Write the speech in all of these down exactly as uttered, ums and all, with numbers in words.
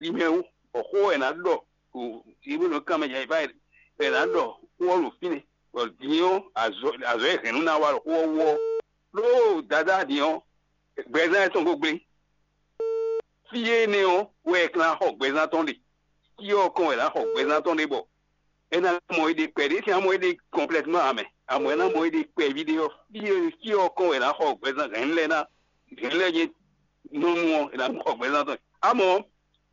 yi mɛ wú, bɔ xó wɛ è nǎ ɖɔ ɖo Ebréenu kanmɛ jɛ yi fá wɛ è nǎ ɖɔ xó ɔ́ ɖo fínɛ́, bɔ din ɔ́ azɔ̌ azɔ̌ e hɛ̌nnu ná wa ɖo xó ɔ́ wú ɔ́, ɖó Dadá din ɔ́, gbɛzán etɔn ko gblé. Fí énɛ́ ɔ́ wɛ è ka ná xɔ gbɛzán tɔn ɖe. Fí ɔ́ kɔn wɛ è nǎ xɔ gbɛzán tɔn ɖe bɔ è nǎ mɔ éɖée kpɛɖé, sín amɔ éɖée kɔnplɛtmán ǎ mɛ. Amɔ è nǎ mɔ éɖée kpɛví ɖé ɔ́, fí e fí ɔ́ kɔn wɛ è nǎ xɔ gbɛzán hɛ̌nnu lɛ́ɛ ná hɛ̌nnu lɛ́ɛ nyí nɔ nu ɔ́, è nǎ xɔ gbɛzán tɔn. Amɔ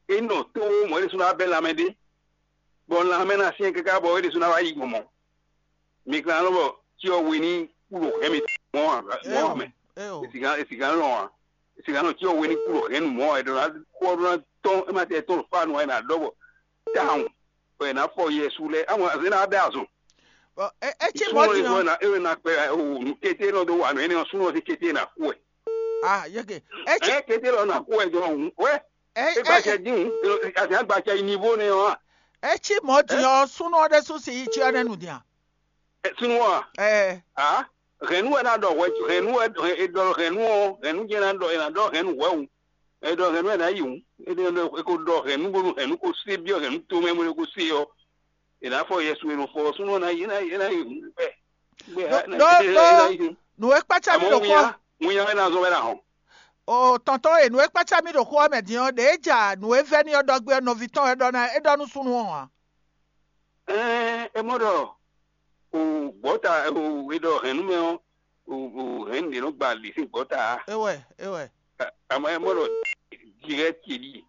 é nɔ tó mɔ̌ ɖésú ná bɛ́ lanmɛ ɖé, bɔ lanmɛ ná syɛ́n káká bɔ é ɖésú ná wá yi gbɔn mɔ̌. Mi ka nɔ bɔ cyɔ we ní kú ɖo hɛ̌n mitɔn mɔ̌ ǎ mɔ̌ ǎ mɛ. È sǐgá è sǐgá lɔn ǎ. È sǐgá nɔ cyɔ we ní kú ɖo hɛ̌n nu mɔ̌ ǎ. È ɖɔ ná kú ɔ́ ɖó ná tɔ́n é má tɛ tɔ́n ɖo fá nu ǎ, è nǎ ɖɔ bɔ tawun bɔ è nǎ fɔ Yɛsu lɛ́ɛ. Amɔ azě ná bɛ́ azɔn. Bɔ é é cí mɔ̌ Súnnu din ɔ́. Ná é ná kpɛ o nǔ kété nɔ dó wa nǔ énɛ́ ɔ́, súnnu ɔ́ sín kété ná kú wɛ. Ah, yeke. É cí Ɛ kété lɔ ná kú wɛ jɔ hǔn wɛ. É É é gbacɛ dín hǔn. Azě agbacɛ yi nivo nɛ ɔ́ a. É cí mɔ̌ din ɔ́, súnnu ɔ́ ɖésú si yi cyɔ nɛ́ nu din a? Súnnu ɔ́ a. Ɛ A hɛ̌nnu wɛ ná ɖɔ hwɛ hɛ̌nnu wɛ è ɖɔ hɛ̌nnu ɔ́ hɛ̌nnu jɛ́n ná ɖɔ è nǎ ɖɔ hɛ̌nnu hwɛ̌ hǔn. È ɖɔ hɛ̌nnu wɛ ná yi hǔn. È ɖɔ è ko ɖɔ hɛ̌nnu bónú hɛ̌nnu ko sé byɔ́ hɛ̌nnu tomɛ bó ko sé ɔ́, è nǎ fɔ Yɛsu e nɔ fɔ ɔ́ súnnu ɔ́ ná yi ná yi ná yi hǔn. Bɛ́ Ɖó- ɖó- ɖó- nǔ e kpácá mì ɖo xó ɔ́. Winnya wɛ ná zɔn wɛ ná hɔn. O tɔntɔn e nǔ e kpácá mì ɖo xó ɔ́ mɛ din ɔ́, ɖě ja nǔ e vɛ́ n'i ɔ́ ɖɔ gbé ɔ́, nɔví tɔn wɛ ɖɔ ná é ɖɔ nú súnnu ɔ́ ǎ. Ɛɛ, é mɔ ɖɔ o gbɔta o e ɖɔ hɛn nú mɛ ɔ́, o o hɛn ɖě nɔ gba lǐ sín gbɔta a? É wɛ, é wɛ. Àmọ́ é mɔ ɖɔ direct ce ɖíe.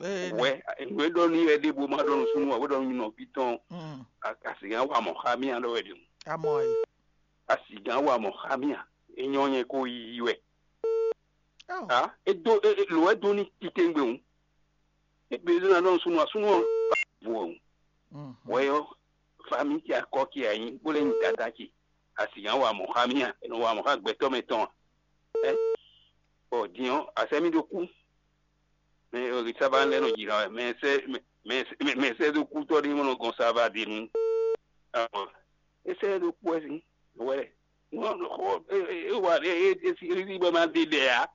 Ee, wɛ nǔ e ɖɔ n'i wɛ ɖěbǔ ma ɖɔ nú súnnu ǎ, bó ɖɔ nú nɔví tɔn. Mm. A a sì gán wa mɔ̌ xá mì ǎ ɖɔ wɛ ɖě. Amɔ e. A sì gán wa mɔ̌ xá mì ǎ. É nyɔ́ nyɛ kó yiyi wɛ. Ɔ. A é dó é é- lǒ wɛ dó ní titewungbe hǔn. É gbe zɔ́n ná ɖɔ súnnu ɔ́ súnnu ɔ́ vo ɔ́. Mm. Wɛ ɔ́, famí ce akɔ ce a nyí bó lɛ́ nyí dada ce. A sì gán wa mɔ̌ xá mì ǎ. È nɔ wa mɔ̌ xá gbɛtɔ́ mɛ tɔn ǎ. Ɛ bɔ din ɔ́, a sɛ́ mì ɖó kú. Mɛ e sábà lɛ́ nɔ jǐ ná wɛ. Mɛ e sɛ́ mɛ mɛ e sɛ́ mɛ e sɛ́ dó kú tɔ́ ɖé mɔ nɔ gɔn sábà din nu. Ɔ, é sɛ́ dó kú wɛ sín wɛ. Wɔ é é é wa é é é sí é sí bɔ é má ɖe ɖɛ ǎ.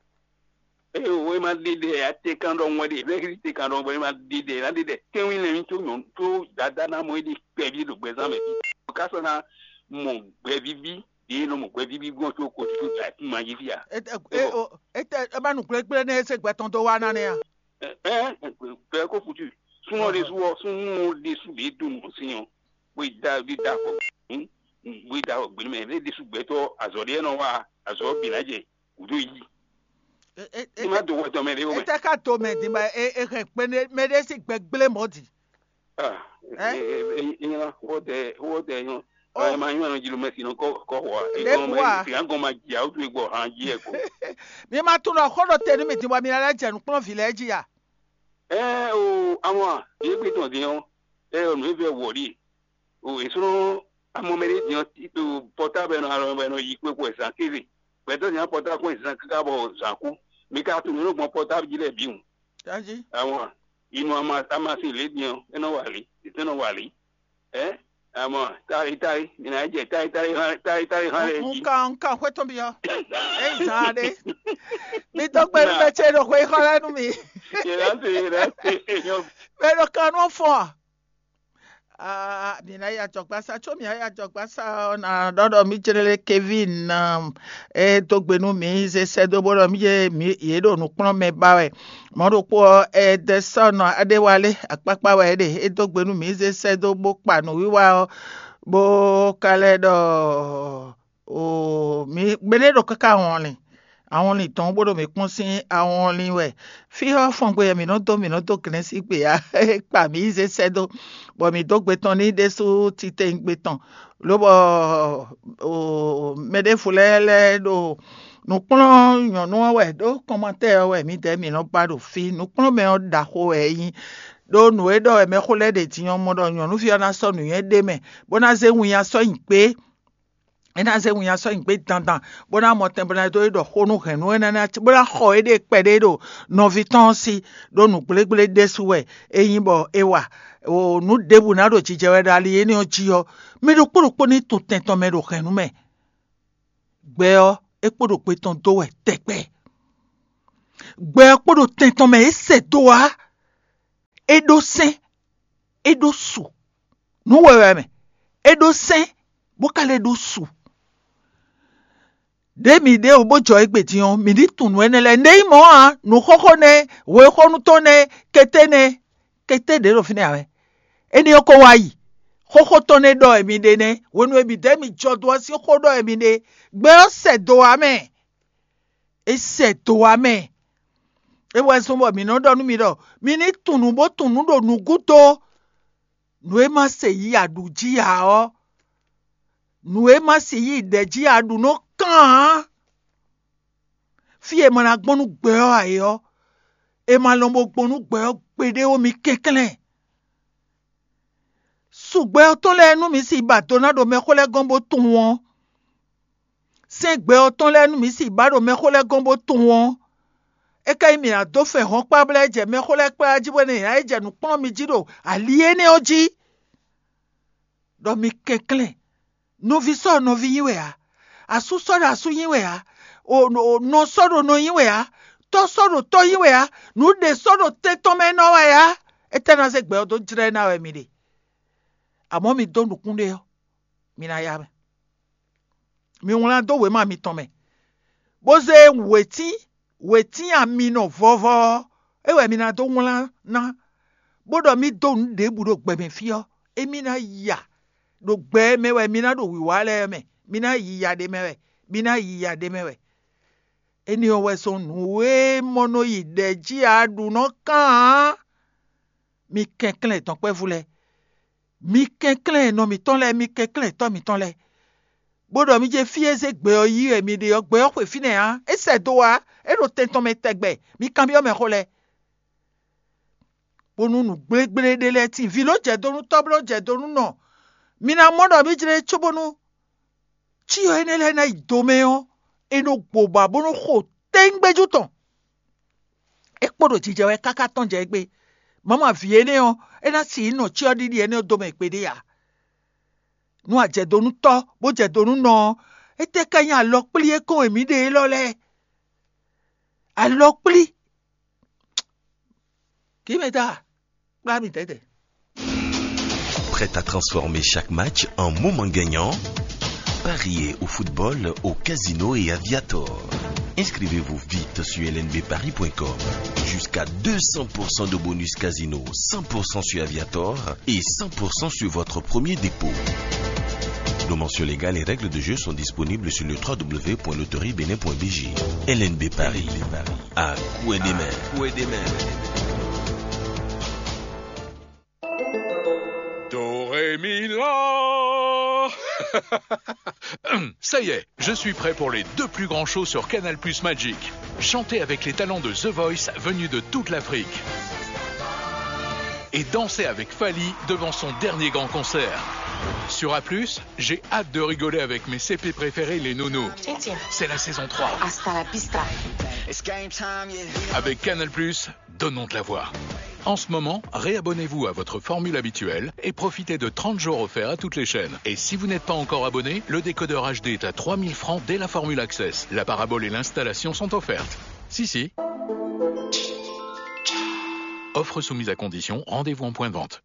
É o é má ɖe ɖɛ ǎ. Te kan ɖɔ ŋwɛ ɖe. Mɛ é sí te kan ɖɔ ŋwɛ é má ɖe ɖɛ é ná ɖe ɖɛ. Tɛ́nwí lɛ́ɛ mì tó nyɔ̌nu tó dadá ná mɔ é ɖe kpɛví ɖo gbɛzán mɛ. Ká sɔ́ ná mɔ gbɛvíví ɖě nɔ mɔ gbɛvíví gbɔn tó ko tó da kún ma jí fí a. Ete e o ete e ma nu gblégblé ne ese gbɛ tɔn dó wa na ne a. Ɛ ɛ gbɛ ko futu. Súnmọ́ ɖe sú ɔ súnmọ́ ɖe sú ɖe dó nù sí yàn. Bó da bí da fɔ bó da fɔ gbɛnú mɛ ɛ ɖe sú gbɛtɔ azɔ ɖe nɔ wa azɔ bìnà jɛ wúdó yí. Ní má do wɛ tɔn mɛ ɖe wɛ. Ete ka to mɛ di ma e e hɛn kpɛnɛ mɛ ɖe si gbɛ gblé mɔ di. Ah, Ɛ? Ina wotɛ wotɛ yɔn. Oh. Ɛ ma nyɔ anɔ jilo mɛ sinɔ kɔ kɔ wa. Lɛbu wa. Sika gɔn ma jia wotu egbɔ han ji ɛ ko. Mi ma tunɔ xó ɖo te nú mi din bɔ mi ná lɛ́ jɛ nǔkplɔ́nvǐ lɛ́ɛ jí a? Ɛ o, àwọn yé gbé tɔn dín ɔ́, ɛ o nǔ e vɛ wɔ ɖi. O èsúnú amɔ mɛ ɖé dín ɔ́, pɔtábɛ nɔ alɔ bɛ nɔ yi kpé kpó ɛ zan kéze. Gbɛtɔ́ dín ɔ́ pɔtábɛ kpó ɛ zan káká bɔ zan kú. Mi ka tunɔ nú gbɔn pɔtábɛ jí lɛ bǐ wǔ. Tají. Àwọn inú amasin lě din ɔ́, é nɔ wa lě, é nɔ wa lě. Ɛ àmọ́ táyí táyí mi ná jẹ táyí táyí hán táyí táyí hán lɛ jí. Nka nka xwétɔn bi yɔ. Eyi zan ɖe. Mi dɔ gbe mi bɛ tse ɖo xwe xɔ lɛ nu mi. Yɛlɛ ase yɛlɛ ase yɔ. Mɛ ɖo kan nɔ fɔ. Aa mi na ya jɔgba sa tso mi ya jɔgba sa ɔ na ɖɔ ɖɔ mi jlɛ Kevin na. E dó gbe nú mǐ zé sɛ́ dó bó ɖɔ mí yě mǐ yě ɖo nǔkplɔ́nmɛ ba wɛ. Mɔ̌ ɖokpó ɔ́, Ɛdɛsɔ́ɔn aɖéwálé akpákpá wɛ é ɖe. É dó gbe nú mǐ zé sɛ́ dó bó kpa nǔwiwa ɔ́, bó ka lɛ́ ɖɔ oo mǐ gbeɖé ɖo káká wɔnlin. Awɔnlin dɔn bó ɖo mǐ kpɔ́n sín awɔnlin wɛ. Fí ɔ́ fɔngbe wɛ mǐ nɔ dó mǐ nɔ dó glɛ́n sín gbe ǎ. É kpa mǐ yi zé sɛ́ dó, bɔ mǐ dó gbe tɔn n'i ɖésú titewungbe tɔn. Lobɔ mɛ ɖěvo lɛ́ɛ lɛ́ɛ ɖo nǔkplɔ́n nyɔ̌nu ɔ́ wɛ ɖó kɔnmatɛ́ ɔ́ wɛ mǐdɛɛ mǐ nɔ ba ɖo fí. Nǔkplɔ́nmɛ ɔ́ ɖaxó wɛ é nyí. Ɖó nǔ e ɖɔ wɛ mɛxó lɛ́ɛ ɖe din ɔ́ mɔ ɖɔ nyɔ̌nuví ɔ́ ná sɔ́ nǔnywɛ́ ɖé mɛ, bó ná zé winnyá sɔ́ nyi gbé. É ná zé winnyá sɔ́ nyi gbé dandan, bó ná mɔ tɛn bó ná dó é ɖɔ xó nú hɛ̌nnu énɛ́ ná bó ná xɔ éɖée kpɛɖé ɖo nɔví tɔn ɔ́ sí, ɖó nǔgblégbé ɖésú wɛ é nyí bɔ é wa. O nǔ ɖěbǔ ná ɖo jijɛ wɛ ɖo ali énɛ́ ɔ́ jí ɔ́, mɛ ɖokpó ɖokpó ní to tɛn tɔn mɛ ɖo hɛ̌nnu mɛ. Gbɛ ɔ́, é kpo ɖo gbe tɔn dó wɛ tɛgbɛ. Gbɛ ɔ́ kpo ɖo tɛn tɔn mɛ é sɛ dó wá. ɖó sɛ́n, é ɖó su. Nǔ wɛwɛ mɛ, é ɖó sɛ́n, bó ka lɛ́ ɖó su. Ɖěe mǐ ɖe wǒ bó jɔ égbé din ɔ́, mǐ ní tunwun nǔ énɛ́ lɛ́ɛ. Nǔ e nyí mɔ̌ ǎ, nǔxóxó nɛ́, wěxónú tɔn nɛ́, kété nɛ́, kété ɖě ɖo fínɛ́ ǎ wɛ. Énɛ́ ɔ́ ko wá yi. Xóxó tɔn nɛ́ ɖɔ wɛ mi ɖe nɛ́, hwenu e mǐ ɖɛ̌ mi jɔ do ɔ́ sín xó ɖɔ wɛ mi ɖe. Gbɛ ɔ́ sɛ do ǎ mɛ. É sɛ do ǎ mɛ. É wɛ zɔ́n bɔ mǐ nɔ ɖɔ nú mi ɖɔ mi ní tunwun nǔ bó tunwun nǔ ɖo nǔgúdo. Nǔ e ma se yi aɖǔ jí ǎ ɔ́, nǔ e ma se yi ɖɛ̌ jí aɖǔ nɔ kán ǎ. Fí e ma ná gbɔn nú gbɛ ɔ́ ǎ é ɔ́, è ma lɔn bo gbɔn nú gbɛ ɔ́ gbeɖé ó, mi kɛnklɛ́n. Su gbɛ ɔ́ tɔn lɛ́ɛ nú mǐ si ba do ná ɖo mɛxó lɛ́ɛ gɔ́n bó tunwun ɔ́. Sɛ́n gbɛ ɔ́ tɔn lɛ́ɛ nú mǐ si ba ɖo mɛxó lɛ́ɛ gɔ́n bó tunwun ɔ́. É ka nyí mǐ ná dó fɛn hɔn kpá bla é jɛ mɛxó lɛ́ɛ kplá jí bɔ é ná yi jɛ nǔ kplɔ́n mi jí ɖo ali énɛ́ ɔ́ jí. Ɖɔ mi kɛnklɛ́n, nɔví sɔ́ ɖo nɔví nyí wɛ ǎ, asú sɔ́ ɖo asú nyí wɛ ǎ, nɔ sɔ́ ɖo nɔ nyí wɛ ǎ, tɔ́ sɔ́ ɖo tɔ́ nyí wɛ ǎ, nǔɖé sɔ́ ɖo tɛn tɔn mɛ nɔ wɛ ǎ. Étɛ́ ná zé gbɛ ɔ́ dó jlɛ́ ná wɛ mi ɖe? Amɔ̌ mi dó nukún ɖé ɔ́, mi ná yá mɛ. Mi wlán dó wěma mitɔn mɛ, bó zé wětín wětín aminɔ vɔvɔ ɔ́, é wɛ mi ná dó wlán ná, bó ɖɔ mì dó nǔ ɖěbǔ ɖo gbɛ mɛ fí ɔ́, émí ná ya ɖo gbɛ e mɛ wɛ mi ná ɖo wǐwá lɛ́ɛ mɛ, mi ná yi ya ɖ'é mɛ wɛ, mi ná yi ya ɖ'é mɛ wɛ. Énɛ́ ɔ́ wɛ zɔ́n nǔ e mɔ nɔ yi ɖɛ̌ jí a ɖu nɔ kán ǎ. Mi kɛnklɛ́n dɔ̌nkpɛvú lɛ́ɛ, mi kɛnklɛ́n nɔ mǐtɔn lɛ́ɛ, mi kɛnklɛ́n tɔ́ mǐtɔn lɛ́ɛ, bó ɖɔ mi jɛ fí e zé gbɛ ɔ́ yí wɛ mi ɖe ɔ́, gbɛ ɔ́ xwe fínɛ́ ǎ, é sɛ do ǎ, é ɖo tɛn tɔn mɛ tɛgbɛ. Mi kanbyɔ́ mɛ xó lɛ́ɛ, bónú nǔ gblégblé ɖé lɛ́ɛ tíin. Vǐ ló jɛ do nú tɔ́, bó ló jɛ do nú nɔ. Mi ná mɔ ɖɔ mǐ jlɛ́ cóbónú cyɔ énɛ́ lɛ́ɛ ná yi do mɛ ɔ́, è nɔ gbo ba bó nɔ́ xo tɛ́ngbɛ́jú tɔn. É kpo ɖo jijɛ wɛ káká tɔ́n jɛ égbé. Mama vǐ énɛ́ ɔ́, é ná sixú nɔ cyɔ ɖiɖi énɛ́ ɔ́ do mɛ gbeɖé ǎ. Nú a jɛ do nú tɔ́, bó jɛ do nú nɔ ɔ́, étɛ́ ká nyí alɔkplí e kɔn e mǐ ɖe élɔ́ lɛ́ɛ? Alɔkplí. Kǐ mɛ ta, kplá mì tɛ́tɛ́. Prêt à transformer chaque match en moment gagnant? Pariez au football au Casino et Aviator. Inscrivez-vous vite sur L N B paris point com. Jusqu'à deux cents pour cent de bonus casino, cent pour cent sur Aviator et cent pour cent sur votre premier dépôt. Nos mentions légales et règles de jeu sont disponibles sur le trois W point loterie bénin point B G. L N B Paris, à coup et des mains. Do, ré, mi, la. Ça y est, je suis prêt pour les deux plus grands shows sur Canal Plus Magic. Chantez avec les talents de The Voice venus de toute l'Afrique. Et dansez avec Fally devant son dernier grand concert. Sur A plus, j'ai hâte de rigoler avec mes C P préférés, les Nounous. C'est la saison trois. Hasta la vista. Avec Canal Plus, donnons de la voix. En ce moment, réabonnez-vous à votre formule habituelle et profitez de trente jours offerts à toutes les chaînes. Et si vous n'êtes pas encore abonné, le décodeur H D est à trois mille francs dès la formule Access. La parabole et l'installation sont offertes. Si, si. Offre soumise à condition, rendez-vous en point de vente.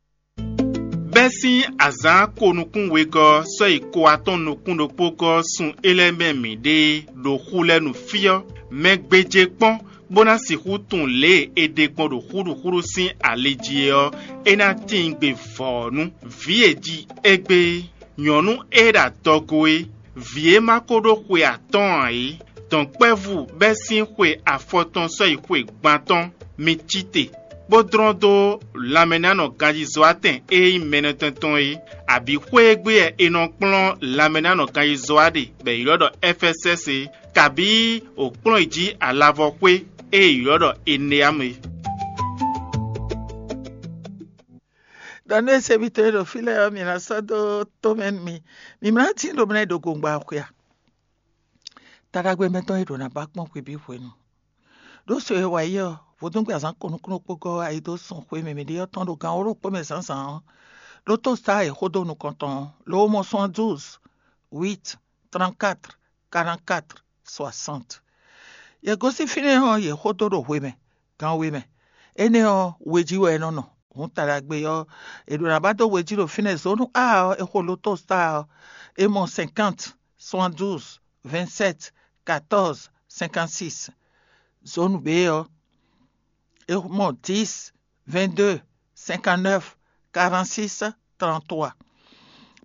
Bɛ́ sín azǎn ko nukún wegɔ́ sɔ́ yi ko atɔ́ɔ́n nukún ɖokpó gɔ́ sun é lɛ́ɛ mɛ mǐ ɖe ɖo xu lɛ́ɛ nu fí ɔ́, mɛ gbéjé kpɔ́n bó ná sixú tunwun lě e è ɖe gbɔn ɖo xúɖuxúɖu sín ali jí é ɔ́, é ná tíin gbe vɔ̌nu. Vǐ e ji égbé, nyɔ̌nu e ɖo adɔgo é, vǐ e ma ko ɖó xwe atɔ́ɔ́n ǎ é, dɔ̌nkpɛvú bɛ́ sín xwe afɔtɔn sɔ́ yi xwe gban tɔn, mi cí te, bó dlɔ́n dó lanmɛnánɔ ganjízɔ́watɛn e nyí mɛnɔtɛn tɔn é, abǐ xwé e gbe wɛ è nɔ kplɔ́n lanmɛnánɔ ganjízɔ́wa ɖe bɔ è ylɔ́ ɖɔ Ɛfɛsɛ́si é, kabǐ wǒ kplɔ́n yi jí alavɔxwé e è ylɔ́ ɖɔ Eneamu é. Ɖɔ nú esebítɔ́ e ɖo fí lɛ́ɛ ɔ́, mi ná sɔ́ dó tó mɛ nú mi. Mi ma ná tín ɖo mlɛ́ ɖo gongba xwe a? Taɖagbe mɛtɔn e ɖo ná ba kpɔ́n hwebǐ hwenu. Ɖó so e wa yi ɔ́, vodúngbe azǎn ko nukúnnú kpó gɔ́ ayi dó sun xwe mɛ mǐ ɖe ɔ́ tɔn ɖo gan wǒ ɖokpó mɛ zǎnzǎn ɔ́, ɖó tó sa e xó dó nukɔn tɔn ɔ́, lo mɔ soixante-douze, huit, trente-quatre, quarante-quatre, soixante. Yě gosín fínɛ́ ɔ́, yě xó dó ɖo hwe mɛ, gan we mɛ. Énɛ́ ɔ́, we jí wɛ é nɔ nɔ. Hǔn taɖagbe ɔ́, è ɖo ná ba dó we jí ɖo fínɛ́. Zǒnu A ɔ́, è xo loto star ɔ́, è mɔ cinquante, soixante-douze, vingt-sept, quatorze, cinquante-six. Zǒnu B ɔ́, è mɔ dix, vingt-deux, cinquante-neuf, quarante-six, trente-trois.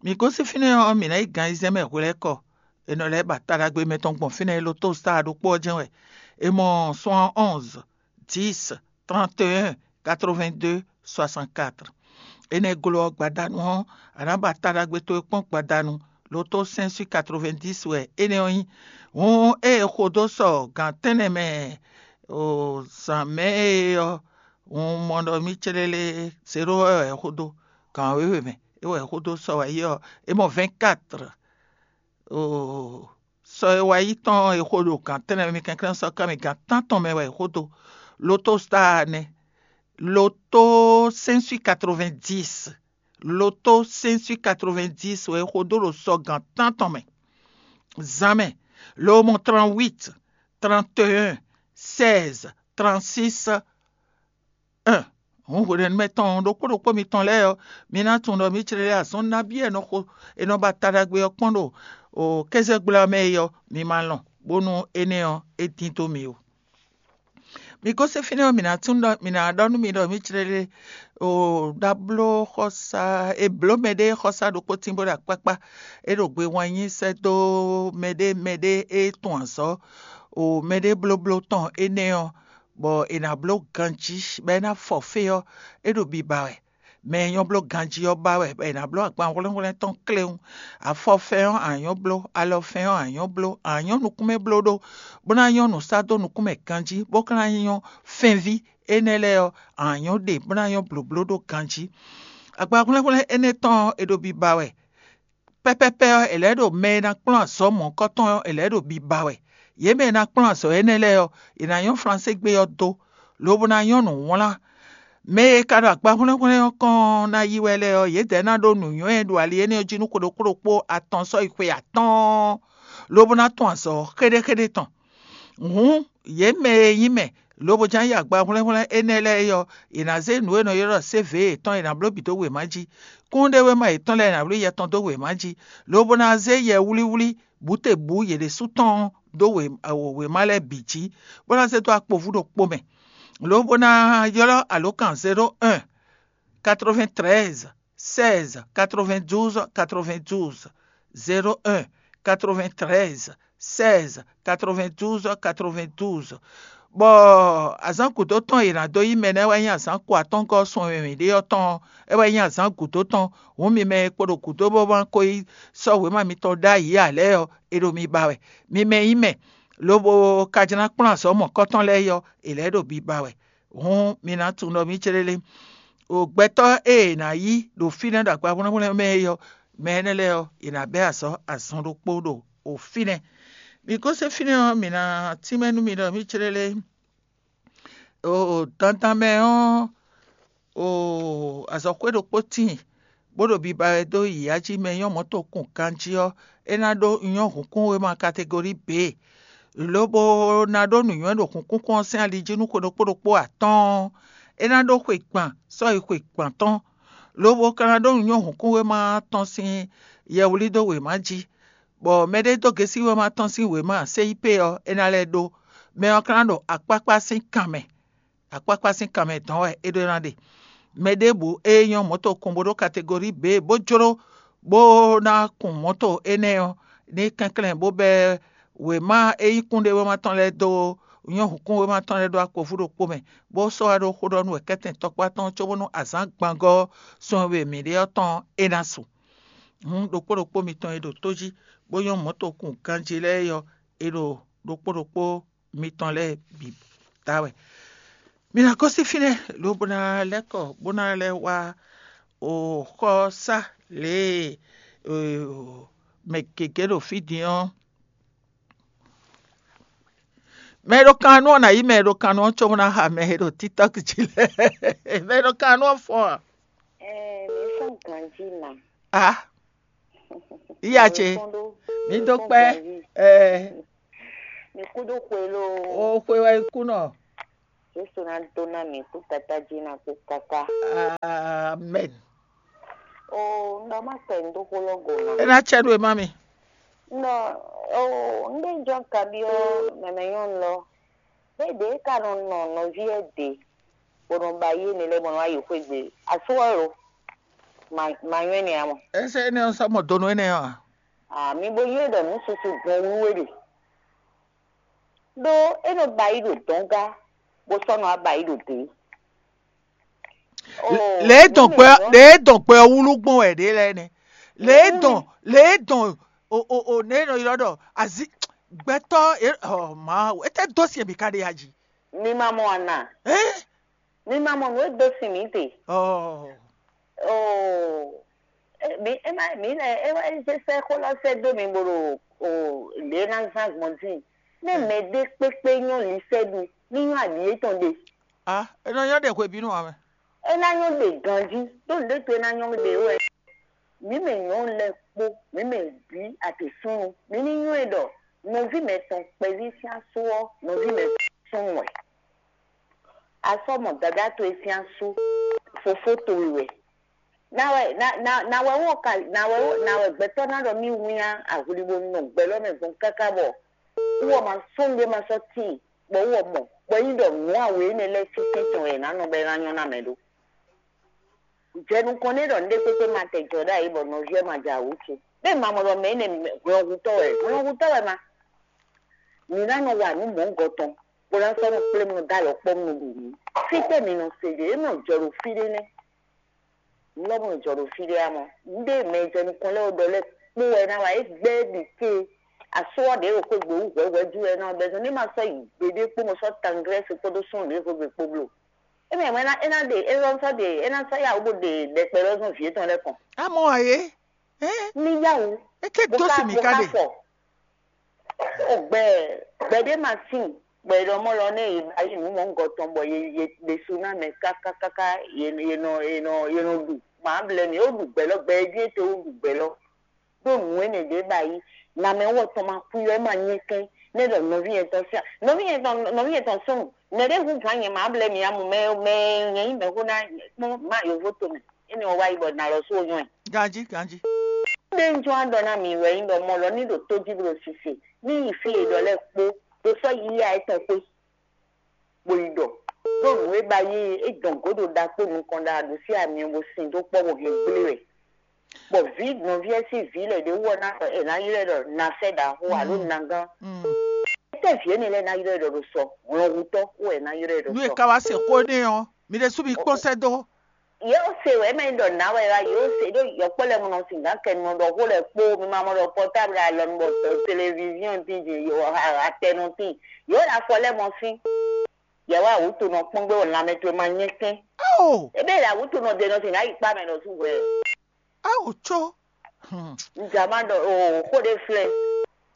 Mǐ gosín fínɛ́ ɔ́, mǐ ná yi gan ayizɛ́n mɛ hwelɛ́kɔ. È nɔ lɛ́ ba taɖagbe mɛtɔn gbɔn fínɛ́, loto star ɖokpó ɔ́ jɛ́n wɛ. È mɔ soixante-onze, dix, trente et un, quatre-vingt-deux, soixante-quatre. Énɛ́ glɔ́ ɔ́, gbadanu ɔ́, a nǎ ba taɖagbe towe kpɔ́n gbadanu. Loto cinq sur quatre-vingt-dix wɛ énɛ́ ɔ́ nyí. Hǔn ée è xo dó sɔ gǎn tɛ́nnɛ mɛ o zǎn mɛ é ɔ́, un mɔ ɖɔ mì célélé zéro wɛ è xo dó gǎn wěwe mɛ. É wɛ è xo dó sɔ wɛ yi ɔ́, é mɔ vingt-quatre. O sɔ e wá yi tɔn e xo ɖo gǎn tɛ́nnɛ mɛ mi kɛnklɛ́n sɔ́ ká mi gǎn tántɔn mɛ wɛ è xo dó. Loto star nɛ́. Loto cinq sur quatre-vingt-dix. Loto cinq sur quatre-vingt-dix wɛ è xo dó ɖo sɔ gǎn tántɔn mɛ. Zǎn mɛ, lo mɔ trente-huit, trente et un, seize, trente-six, un. Hǔn hwenɛ́nu mɛ tɔn ɖokpó ɖokpó mitɔn lɛ́ɛ ɔ́, mi ná tunwun ɖɔ mǐ clɛ́ azɔn nabí e è nɔ xo è nɔ ba taɖagbe ɔ́ kpɔ́n ɖo kézɛgbla ɔ́ mɛ é ɔ́, mi ma lɔn, bónú énɛ́ ɔ́, é dín dó mi ó. Mi gosín fínɛ́ ɔ́, mǐ ná tunwun ɖɔ mǐ ná ɖɔ nú mi ɖɔ mǐ clɛ́ o ɖabló xɔsa e blǒ mɛɖée xɔsa ɖokpó tín bó ɖo akpákpá, é ɖo gbe wannyi sɛ́ dó mɛɖé mɛɖé e tunwun azɔ̌ o mɛɖé blóbló tɔn énɛ́ ɔ́, bɔ è nǎ bló ganjí, bɔ é ná fɔ fé ɔ́, é ɖo biba wɛ. Mɛ e nyɔ́ bló ganjí ɔ́ ba wɛ, bɔ è nǎ bló agban hwlɛ́nhwlɛ́n tɔn kléwún, afɔfɛn ɔ́ a nyɔ́ bló, alɔfɛn ɔ́ a nyɔ́ bló, a nyɔ́ nukúnmɛ bló ɖó, bó ná nyɔ́ nǔ sá dó nukúnmɛ ganjí, bó ka ná nyɔ́ fɛ́nví énɛ́ lɛ́ɛ ɔ́, a nyɔ́ ɖe, bó ná nyɔ́ blǒbló ɖó ganjí. Agban hwlɛ́nhwlɛ́n énɛ́ tɔn ɔ́, è ɖo biba wɛ. Pɛ́pɛ́pɛ́ ɔ́, è lɛ̌ ɖo mɛ e ná kplɔ́n azɔ̌ mɔ̌hunkɔtɔn ɔ́, è lɛ̌ ɖo biba wɛ. Yě mɛ e ná kplɔ́n azɔ̌ énɛ́ lɛ́ɛ ɔ́, è nǎ nyɔ́ Flansé gbé ɔ́ dó, lobo ná nyɔ́ nǔ wlán. Mɛ e ka ɖo agba hwlɛ́nhwlɛ́n ɔ́ kɔn ná yi wɛ lɛ́ɛ ɔ́, yědɛɛ ná ɖó nǔnywɛ́ e ɖo ali énɛ́ ɔ́ jí nú xwe ɖokpó ɖokpó atɔn sɔ́ yi xwe atɔ́ɔ́n, lobo ná tɔn azɔ̌ xéɖéxéɖé tɔn. Hǔn, yě mɛ e nyí mɛ, lobo ján yi agba hwlɛ́nhwlɛ́n énɛ́ lɛ́ɛ é ɔ́, è nǎ zé nǔ e è nɔ ylɔ́ ɖɔ sévě yětɔn è nǎ bló bǐ dó wěma jí. Kúnnuɖewéma yětɔn lɛ́ɛ è nǎ bló yɛ tɔn dó wěma jí, lobo ná zé yɛwlíwlí bǔtebǔ yě ɖésú tɔn dó wěma lɛ́ɛ bǐ jí, bó ná zé dó akpovú ɖokpó mɛ, lobo ná ylɔ́ alǒkan zéro un, quatre-vingt-treize, seize, quatre-vingt-douze, quatre-vingt-douze, zéro un, quatre-vingt-treize, seize, quatre-vingt-douze, quatre-vingt-douze. Bɔ azǎn gǔdo tɔn e è nǎ dó yí mɛ nɛ́ wɛ nyí azǎn ko atɔ́ɔ́ngɔ́ sun e mǐ ɖe ɔ́ tɔn ɔ́, é wɛ nyí azǎn gǔdo tɔn. Hǔn mi mɛ e kpo ɖo gǔdo bó ma ko yi sɔ́ wěma mitɔn ɖ'ayǐ ǎ lɛ́ɛ ɔ́, è ɖo mi ba wɛ. Mi mɛ nyí mɛ, lobo ka jlá kplɔ́n azɔ̌ mɔ̌kɔtɔn lɛ́ɛ yi ɔ́, è lɛ̌ ɖo biba wɛ. Hǔn mi ná tunwun ɖɔ mǐ céɖélé. O gbɛtɔ́ e è nǎ yí ɖo fínɛ́ ɖo akpa hwlɛ́nhwlɛ́n mɛ é ɔ́, mɛ énɛ́ lɛ́ɛ ɔ́, è nǎ bɛ́ azɔ̌ azɔn ɖokpó ɖo o fínɛ́. Mi gosín fínɛ́ ɔ́, mǐ ná tínmɛ nú mi ɖɔ mǐ céɖélé. O dandan mɛ ɔ́, o azɔ̌xwé ɖokpó tíin, bó ɖo biba wɛ dó yǐyá jí mɛ nyɔ́ mɔ̌ tokun ganjí ɔ́, é ná ɖó nyɔ́ hǔnkúnwéma kategori B, lobo ná ɖó nǔnywɛ́ ɖo hǔnkúnkún ɔ́ sín ali jí nú xwe ɖokpó ɖokpó atɔ́ɔ́n. É ná ɖó xwe gban sɔ́yi xwe gban tɔn, lobo ka ná ɖó nyɔ́ hǔnkúnwéma tɔn sín yɛwlí dó wěma jí, bɔ mɛɖé dó gěsí wěma tɔn sín wěma C I P ɔ́, é ná lɛ́ ɖó. Mɛ ɔ́ ka ná ɖo akpákpá sín kan mɛ. Akpákpá sín kan mɛ dɔn wɛ é ɖó ná ɖe. Mɛ ɖěbǔ e nyɔ́ mɔ̌to kun bó ɖó kategori B bó jló bó ná kun mɔ̌to énɛ́ ɔ́, ní kɛnklɛ́n bó bɛ́ wěma e nyí kúnɖéwéma tɔn lɛ́ɛ dó nyɔ́ hǔnkúnwéma tɔn lɛ́ɛ ɖó akpovú ɖokpó mɛ, bó sɔ́ wá ɖó xó ɖɔ nú wɛ̌kɛ́tɛn tɔkpá tɔn cóbónú azǎn gbangɔ́ ɔ́ sun e mǐ ɖe ɔ́ tɔn é ná su. Hǔn ɖokpó ɖokpó mitɔn e ɖo tó jí bó nyɔ́ mɔ̌to kun ganjí lɛ́ɛ é ɔ́, è ɖo ɖokpó ɖokpó mitɔn lɛ́ɛ bǐ da wɛ. Mi ná gosín fínɛ́, lobo ná lɛ́ kɔ bó ná lɛ́ wá o xɔsá lě e mɛ gěgé ɖo fí din ɔ́. Mɛ e ɖo kan nú ɔ́ ná yí mɛ e ɖo kan nú ɔ́ cóbó ná xa mɛ e ɖo TikTok jí lɛ́ɛ. Mɛ e ɖo kan nú ɔ́ fɔ́n a? Ɛɛ, mi fɔn ganjí ma. A, iya ce, mi dó kpɛ́. Ɛɛ, mi kú dó xwe lo. O xwe wɛ kú nɔ. Yesu ná dó ná mǐ kú Tatá jí ná kú káká. Amen. O un ɖɔ má sɛ un dó xó lɔ go ná. E ná cɛ ɖo e má mi. Un ɖɔ o un ɖe jɔ kabyɔ mɛmɛ nyɔnu lɔ. Bɛ́ ɖě ka nɔ nɔ nɔví ɛ ɖě bó nɔ ba yé nɛ lɛ́ɛ bó nɔ wá yi xwé gbe. Asú ɔ́ lo. Ma ma nyɔ́ ɛnɛ ǎ mɔ. Ese ene ɔ́ sɔ́ mɔ donu ene ɔ́ a? Ah, mi bo nywɛ́ ɖɔ nǔ susu gbɔn wú é ɖe. Ɖó é nɔ ba yi ɖo dɔ̌n gá, bó sɔ́ nɔ wá ba yi ɖo dě. Lě dɔn gbɛ lě dɔn gbɛ wúlú gbɔn wɛ ɖě lɛ́ɛ nɛ. Lě dɔn lě dɔn o o o ne nɔ ylɔ ɖɔ azi gbɛtɔ e ɔ ma etɛ dó si mi ka ɖe ya jí. Mi ma mɔ ana. Eh? Mi ma mɔ nǔ e dó sin mǐ te. Oh. Oo. Mi ema mi lɛ ewa eze sɛ xó lɔ sɛ dó mi bo ɖo o ɖe na zan gbɔn dín. Ne mɛ ɖé kpékpé nyɔ li sɛ ɖu ní nyɔ aɖi yetɔn ɖe. Ah, e nɔ nyɔ ɖe hwebínú ame. E ná nyɔ ɖe ganjí ɖó nǔɖé to e ná nyɔ ɖe wɛ. Mǐ mɛ nyɔ̌nu lɛ́ɛ kpó mǐ mɛ bǐ atǐsúnnu mǐ ní nywɛ́ ɖɔ nɔví mɛtɔn kpɛví sín asú ɔ́ nɔví mɛtɔn súnnu wɛ. A sɔ́ mɔ dadá towe sín asú fofó towe wɛ. Na wɛ na na na wɛ wɔ ka na wɛ wɔ na wɛ gbɛtɔ́ ná ɖɔ mì wínnyá ahwlibo nɔ gbɛ lɔ mɛ gbɔn káká bɔ wɔ ma sɔ́ nɖé ma sɔ́ tíin bɔ wɔ mɔ bɔ yí ɖɔ nǔ awe énɛ́ lɛ́ɛ sín sɛ́n tɔn wɛ è nǎ nɔ bɔ é ná nyɔ́ ná mɛ ɖó. Jɛ nukɔn n'i ɖɔ nɖé kpékpé ma tɛ jɔ ɖ'ayǐ bɔ nɔví ɔ́ ma jɛ awǔ ce. Bɛ́ ma mɔ ɖɔ mɛ énɛ́ hwlɔ́nhutɔ́ wɛ, hwlɔ́nhutɔ́ wɛ ma. Mǐ ná nɔ wa nǔ mɔ̌hunkɔ tɔn, bó ná sɔ́ nɔ kplé mɔ dó alɔ kpɔ́ nɔ ɖu nǔ. Fítɛ́ mi nɔ se ɖe, é nɔ jɔ ɖo fí ɖé nɛ́. Nǔ lɔ mɔ jɔ ɖo fí ɖé amɔ. Nɖé mɛ jɛ nukɔn lɛ́ɛ ɖɔ lɛ́ɛ kpó wɛ ná wa é gbɛ́ ɖi ké. Asú ɔ́ ɖě ɖo xwé gbe wú hwɛ̌hwɛ̌ jú wɛ ná bɛ́ zɔn ní ma sɔ́ yi gbeɖé kpó mɔ sɔ́ tanglɛ́ se kpódó súnnu ɖě xwé gbe kpó bló. É mɛ é ná é ná ɖe é ná sɔ́ ɖe é ná sɔ́ yá wú bó ɖe ɖɛkpɛ lɔ zɔn vǐ étɔn lɛ́ɛ kɔn. Amɔ ayé. Ɛ Ní yá wú. Eke dó si mi ka ɖe. Fɔ. Ó gbɛ gbɛɖé ma sín gbɛ ɖɔ mɔ lɔ nɛ yě ba yi nǔ mɔ ŋgɔ tɔn bɔ yě yě ɖésú ná mɛ kákákáká yě yě nɔ yě nɔ yě nɔ ɖu mǎ blɛ mì ó ɖu gbɛ lɔ gbɛ é ɖíe te ó ɖu gbɛ lɔ ɖó nǔ énɛ́ ɖě ba yi nǎmɛ wɔ tɔn ma kú yɔ é ma nyɛ kɛn nɛ ɖɔ nɔví yɛn tɔn sín nɔví yɛn tɔn nɔví yɛn tɔn súnnu mɛ ɖé hu gǎn nyɛ mǎ blɛ mì amú mɛ mɛ nyɛ yí mɛ xó ná kpɔ́n má yǒvó tomɛ énɛ́ wɔ wá yi bɔ nǎ lɔ sú ó nyɔ́ ɛ. Ganji ganji. Ɖé ń jɔ aɖɔ ná mi wɛ nyí ɖɔ mɔ lɔ ní ɖo tó jí bló sise ní yi fí e ɖɔ lɛ́ɛ kpó ɖo sɔ́ yíyá étɔn xwé. Bó yi ɖɔ ɖó nǔ e ba yí é dɔn gǒdo ɖa kpó nukɔn ɖa ɖo sí ami bó sin dó kpɔ́ bó hɛn gblé wɛ. Bɔ vǐ nɔví ɛ sín vǐ lɛ ɖě wú ɔ́ ná ɛ ná ylɔ́ ɛ ɖɔ nasɛ ɖaxó alo nagán. Étɛ́ vǐ énɛ́ lɛ́ɛ ná ylɔ́ ɛ ɖɔ ɖo sɔ hlɔnhutɔ́ wú ɛ ná ylɔ́ ɛ ɖɔ Nu e sɔ. ka wá se xó n'i ɔ́, mi ɖésú mi kpɔ́n sɛ́ dó. Yóò se wɛ mɛ ɖɔ ná wɛ wá yóò se ɖó yɔkpɔ lɛ mɔnɔ sin gán kɛ nɔ ɖɔ xó lɛ kpó mi ma mɔ ɖɔ portable alɔ nu bɔ télévision tin jin yɔ atɛnɔ tin yóò ɖo afɔ lɛ mɔ sín. Yɛ wá awutu nɔ kpɔn gbé wɔ lanmɛ towe ma nyɛ kɛn. Ao, Ebe ɖo awutu nɔ de nɔ sin ná yi kpa mɛ nɔ su hwɛ. Ao tso. Hmm. Nzama ɖɔ o xó ɖé flɛ.